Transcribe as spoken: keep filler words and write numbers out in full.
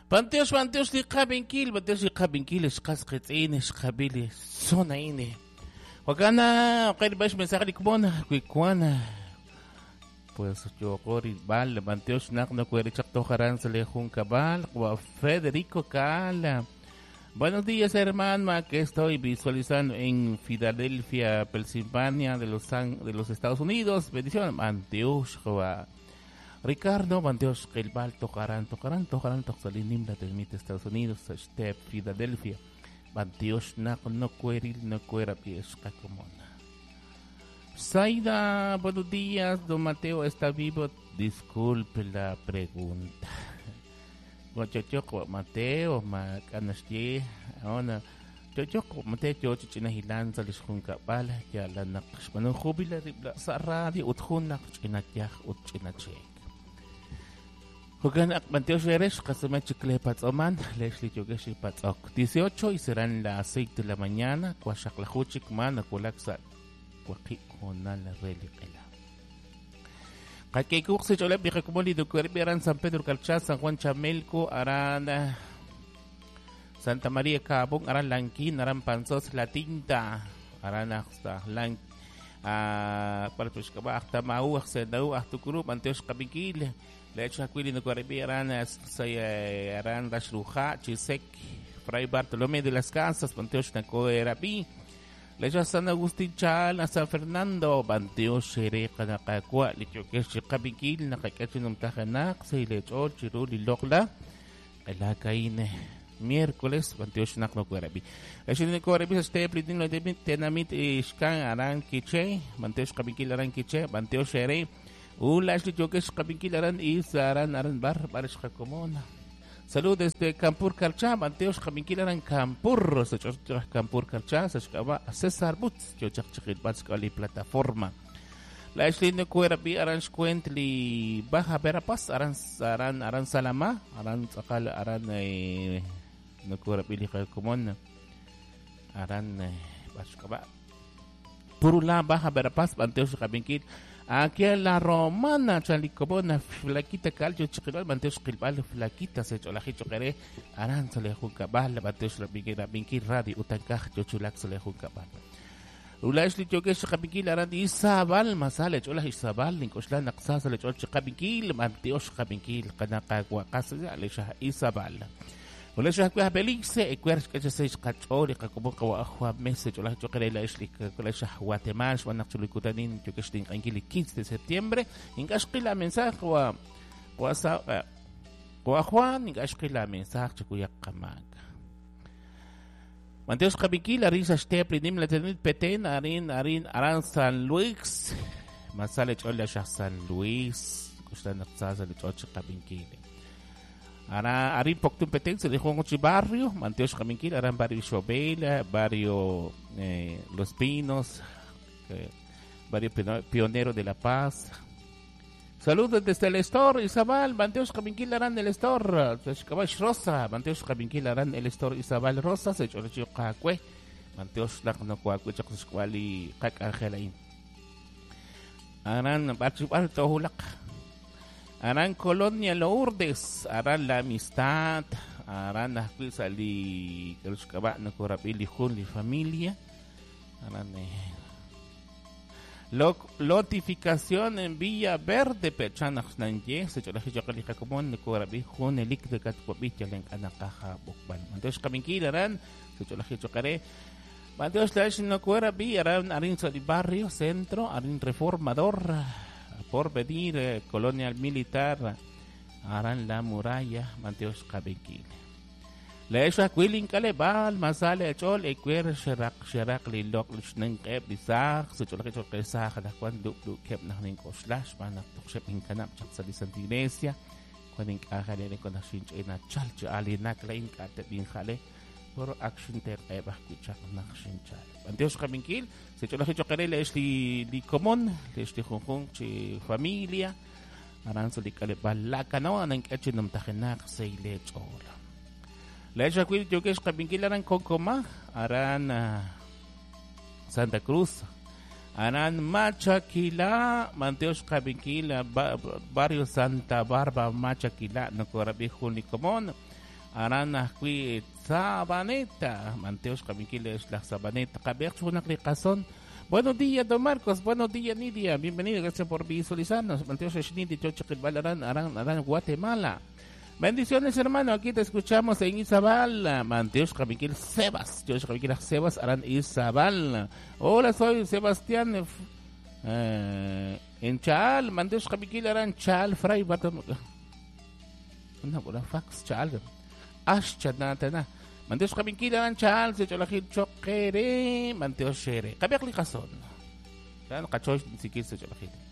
Panteox, panteox li qabinkil, panteox li qabinkil, xqas qitz'in, xqabili, sonaine. Wakana, okay, bash mensaje likmon, kuikuana. Pues yo bal, panteox nak no kueri chaktojaran se le juncabal, Federico Cala. Buenos días, hermano, que estoy visualizando en Filadelfia, Pensilvania, de los, de los Estados Unidos. Bendición, Anteox, Ricardo, Banteos, Kelbal, Tocarán, Tocarán, Tocarán, Toxalinim, la termita Estados Unidos, Step, Filadelfia, Banteos, Nak, no cueril, no cuera, piesca comona. Zaida, buenos días, don Mateo está vivo. Disculpe la pregunta. Guachochoco, Mateo, Macanastie, ahora. Chochoco, Mateo, Chichinahilan, Salisjuncabal, ya la Naqshmanu, jubila, sa radio, Utjunak, Chinatiaj, Utchinachek. Jogan Mateo Sheresh, Kasumachikle Patzoman, Leslie Yogeshi Patzok. dieciocho y serán las seis de la mañana, Cuachaklajuchik, Mana, Cualaxa, Cuaquiconal, Reliquela. Kakekuxi, Cholep, Vijakumoli, Ducuerbi, Aran, San Pedro Calchá, San Juan Chamelco, Aran, Santa María Cabón, Aran Lanquín, Aran Panzos, La Tinta, Aran hasta Lan, Parpushkaba, Axtamau, Axenau, Axtucuru, Manteox Cabiquil. Le hecho a Quili no Cuerbi, Aran, Aran Rashruja, Chisek, Fray Bartolomé de las Casas, Panteox Nacoerapi. Le hecho a San Agustín Chal, a San Fernando, Panteox Xereca, Nacacua, Lichoquesh, Cabiquil, Nacacachinum Tajanak, Seilechol, Chiruli, Locla, El Caine. Miércoles, Panteox Nacoerapi. Le hecho a Cuerbi, Steplin, Tenamit, Ishkan, Aran Quiche, Panteox Cabiquil, Aran Quiche, Panteox Xere. Ula, Yokesh Kabinkil Aran Isa Aran Aran Bar Barish Komona. Salud desde Campur Carchá, Manteos Kabinkil Aran Campur, Campur Carchá, César Butz, Yochak Batskali plataforma. La Ashley Cuerapi Aran Shkuentli Baja Verapaz, Aran Aran Aran Salama, Aran Tzakal Aran no Cuerapi Komona. Aran Bashkaba. Purula Baja Verapaz, Manteos Kabinkil. Aquí en la Romana, Chalicobona, Flaquita, Calcho, Chiquilal, Manteos, Quilbal, Flaquita, Secholajicho, Queré, Aran, Solejuncabal, Manteos, Rabinquil, Binquil, Radio, Utancaj, Chochulac, Solejuncabal. Ulashli, Choquesh, Cabinquil, Aran, Isabal, Masale, Chola, Isabal, Nicoshlan, Axasa, Lechol, Cabinquil, Manteos, Cabinquil, Canacahuacas, Alexa, Isabal. Ulashli, Belice, Ecuerch, que se cachori, Cacoboca, Mese, Chola, Choquerela, Esli, Guatemala, Guanachulicutanin, Choquestin, Anguili, quince de septiembre, Ingashquila, mensaje, Guajuan, Ingashquila, mensaje, Chocuyacamaca. Manteos Cabiquil, Arin, Stepli, Nimla, Tenit, Petén, Arin, Arin, Aran, San Luis, Masale, Chola, San Luis, Custan, Sasa, Chocha, Cabinquil. Ara Arin Poctun Petén se dejó en ocho barrio, Manteos Caminquil, Aran Barrio Xobela, Barrio eh, Los Pinos, eh, Barrio Pionero de La Paz. Saludos desde el Store, Isabel, Manteos Caminquil, Aran el Store, Rosa, Manteos Caminquil, Aran el Store, Isabel Rosa, se echó Cacue, Manteos Lacnocuacue, Chacoscuali, Cac Angelain. Aran Barrio Tojulac. Aran Colonia Lourdes, Aran La Amistad, Aran Asquizali, Kalushkaba, Nokorapili, Juli, familia. Aran eh. Lotificación en Villa Verde, Pechana, Nanye, Secholajichokalija, Nokorabi, Junelik de Catcuapicha, Lencanakaja, Bokban. Entonces, Caminquil, Aran, Secholajichocare. Manteos Lash, Nokorabi, Aran, Arin Barrio, Centro, Arin Reformador. Por venir, eh, Colonial Militar, Aran La Muralla, Manteos Cabequil. La Esha Quilin Calebal, Masale, Chol, Equer, Sherak, Sherak, Lilok, Lishnenk, Lisach, Sechol, Kesach, La Juan, Duk, Duk, Kep, Nahnin, Oslash, Manak, Tuxep, Incanap, Chaxali, Santa Iglesia, Juan, Ajale, con Ashinch, Ena, Chalch, Alinak, Lain, Kate, Binjale, por action ter ebah kuchak nakshin chal. Anteos Caminquil, se echó la chocarela es li li común, es li junjun chi familia, aranzo li kale balaka no anan kachinum tajenak seile chola. La hecha cuil yokesh Caminquil aran Cocoma, aran Santa Cruz, aran Machaquila, Manteos Caminquil, barrio Santa Barba, Machaquila, no corabi juni común. Aran ajwi' Sabaneta. Manteox qabinkil laj Sabaneta. Qabeq chunak li qason. Buenos días, don Marcos. Buenos días, Nidia. Bienvenido. Gracias por visualizarnos. Manteox Nidia, Chochiquilbal, Aran, Aran, Aran, Guatemala. Bendiciones, hermano. Aquí te escuchamos en Izabal. Manteox Qabinkil Sebas. Choch Qabinkil Sebas, Aran Izabal. Hola, soy Sebastián. Eh, en Chal. Manteox Qabinkil Aran Chal. Fray Bartolomé. Una fax Chal. Ash chanatana. Manteox Qabinkil Aran Chal. Se cholajil choquere. Manteox Shere. Qabiaq li qason. Qachoy sikil se cholajil.